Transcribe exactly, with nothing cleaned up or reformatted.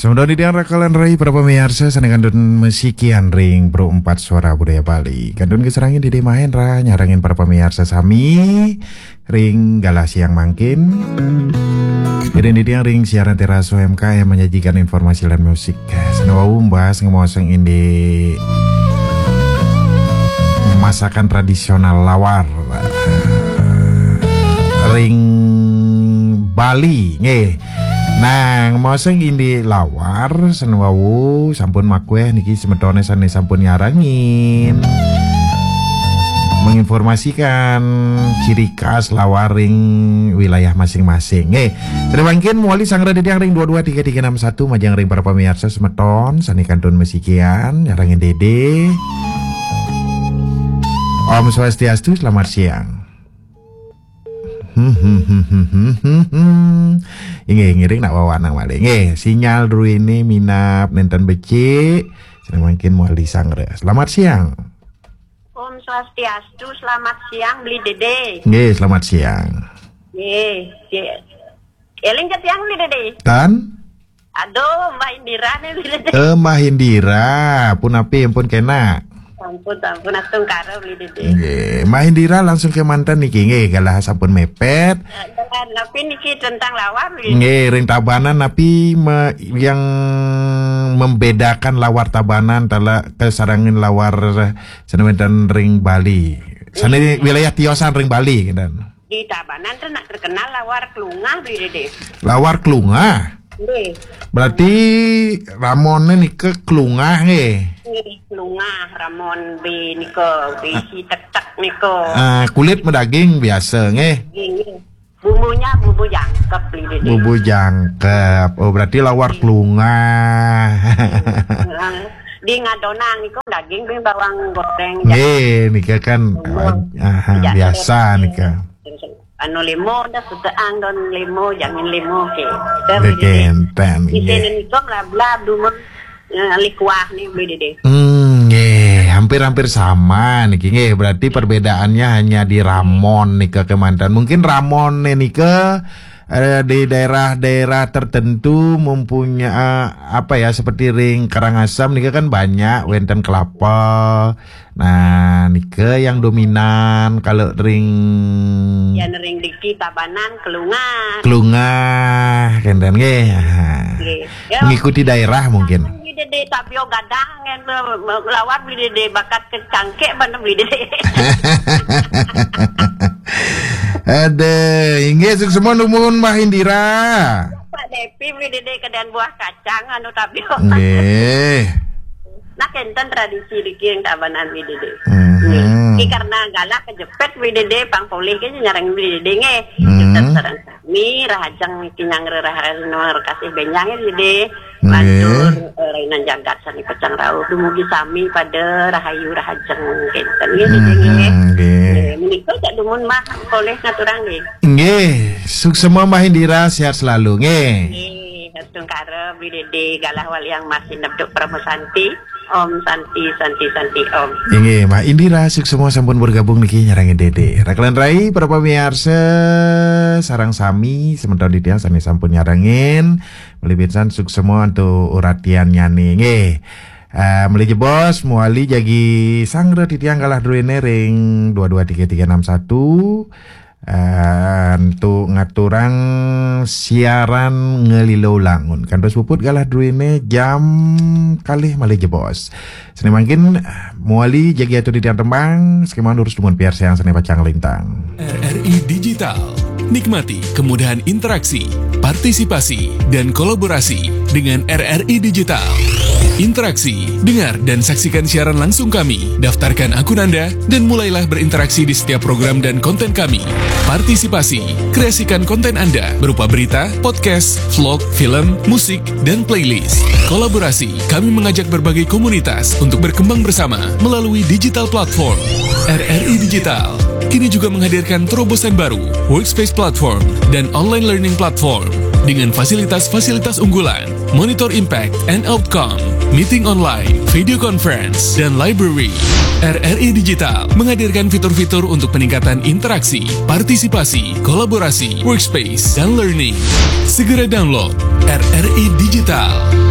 Sampun dadi tiang rakalan rai para pamiarsa sané kantun masikian ring Pro Empat Suara Budaya Bali. Kantun kasarengin Dédé Mahendra nyarengin para pamiarsa sami ring galah siang mangkin. Dédé tiang ring siaran Teras U M K M menyajikan informasi lan musik. Sané wau bahas ngemaosang indik masakan tradisional lawar ring Bali, nggih. Nah, ngemaosang indik lawar sané wau sampun makuéh niki semetoné sané sampun nyarengin. Menginformasikan ciri khas lawar ring wilayah masing-masing. Nggih. Sané mangkin mawali sanggra titiang ring dua dua tiga tiga enam satu majeng ring para pamiarsa semeton sané kantun masikian nyarengin Dédé. Om Swastiastu, selamat siang. Inggih, ngiring nak wawanang malih. Nggih, sinyal druéné minab nénten becik. Sané mangkin mawali sanggra. Selamat siang. Om Swastiastu, selamat siang Beli Dédé. Nggih, selamat siang. Nggih, nggih. Éling ké tiang Beli Dédé. Tan? Aduh, Mbah Indira nih Beli Dédé. Eh, Mbah Indira, punapi ampun kénak? Ampun, ampun, astungkara Beli Dédé. Nggih, Mbah Indira langsung kémanten niki nggih, galah sampun mepet. Eh, galah napi niki tentang lawar Beli Dédé? Nggih, ring Tabanan napi me-, yang membedakan lawar Tabanan taler kasarengin lawar sané wénten ring Bali. Sané wilayah tiosan ring Bali, kinten. Di Tabanan tuh nak terkenal lawar klungah Beli Dédé. Lawar klungah? Nggih. Berarti ramonné nika klungah nggih? Nggih, klungah, ramon bi nika, bi si tek-tek nika. Ah, kulit madaging biasa nggih? Nggih, nggih. Bumbunya bumbu jangkep Beli Dédé. Bumbu jangkep. Oh, berarti lawar klungah. Heeh. Di ngadonang nika daging bi bawang goreng. Nggih, nika kan, aha, biasa nika. Anu limo dah suteang don limo, jangan limo ké. Nika Beli Dédé. Kénten, nggih. Di sini nika melablab dumun, eh, likuah nih Beli Dédé. Hmm, nggih, hampir-hampir sama niki nggih. Berarti perbedaannya hanya di ramon nika kémanten. Mungkin ramonné nika eh, di daerah-daerah tertentu mempunyai, eh, apa ya, seperti ring Karangasem nika kan banyak wénten kelapa. Nah, nika yang dominan kalau ring. Yang ring diki Tabanan klungah. Klungah, kénten nggih. Aha. Nggih. Ya, mengikuti daerah mungkin. Beli Dédé Tabio gadang, lawar Beli Dédé bakat kecangkek bana Beli Dédé. Aduh, inggih suksma dumun Mbah Indira. Pak Depi Beli Dédé kedan buah kacang anu Tabio. Nggih. Nah, kénten tradisi diki ring Tabanan Beli Dédé. Mhm. Nggih. Ki karena galah kejepit Beli Dédé, pang polih ké nyarengin Beli Dédé nggih. Mhm. Jepit sareng sami, rahajeng niki nyanggra rahajeng kasih bénjang nggih Beli Dédé. Nggih. Lantur, eh, rainan jagat sané pacang rauh. Dumugi sami pada rahayu rahajeng kénten nggih, Dédé nggih. Mhm, nggih. Nggih, menika cak dumun Mbah polih ngaturang nggih. Nggih, suksma Mbah Indira, sehat selalu nggih. Nggih, astungkara Beli Dédé galah waliang masih neptuk Parama Santi. Om Santi, Santi, Santi, Om. Inggih, Mbah Indira suksma sampun bergabung niki nyarengin Dédé. Rakalan rai para pamiarsa sareng sami semeton titiang sané sampun nyarengin. Malih pisan suksma antuk uratiannyané nggih. Eh, malih jebos mawali jagi sanggra titiang galah druéné ring dua dua tiga tiga enam satu. Eh, antuk ngaturang siaran ngalila ulangun. Kantos puput galah druéné jam kalih malih jebos. Sané mangkin, eh, mawali jagi atur titiang tembang, sakémaon durus dumun piarsayang sané pacang lintang. R R I Digital. Nikmati kemudahan interaksi, partisipasi, dan kolaborasi dengan R R I Digital. Interaksi, dengar dan saksikan siaran langsung kami. Daftarkan akun Anda dan mulailah berinteraksi di setiap program dan konten kami. Partisipasi, kreasikan konten Anda berupa berita, podcast, vlog, film, musik, dan playlist. Kolaborasi, kami mengajak berbagai komunitas untuk berkembang bersama melalui digital platform. R R I Digital kini juga menghadirkan terobosan baru, Workspace Platform, dan Online Learning Platform dengan fasilitas-fasilitas unggulan, Monitor Impact and Outcome, Meeting Online, Video Conference, dan Library. R R I Digital menghadirkan fitur-fitur untuk peningkatan interaksi, partisipasi, kolaborasi, workspace, dan learning. Segera download R R I Digital.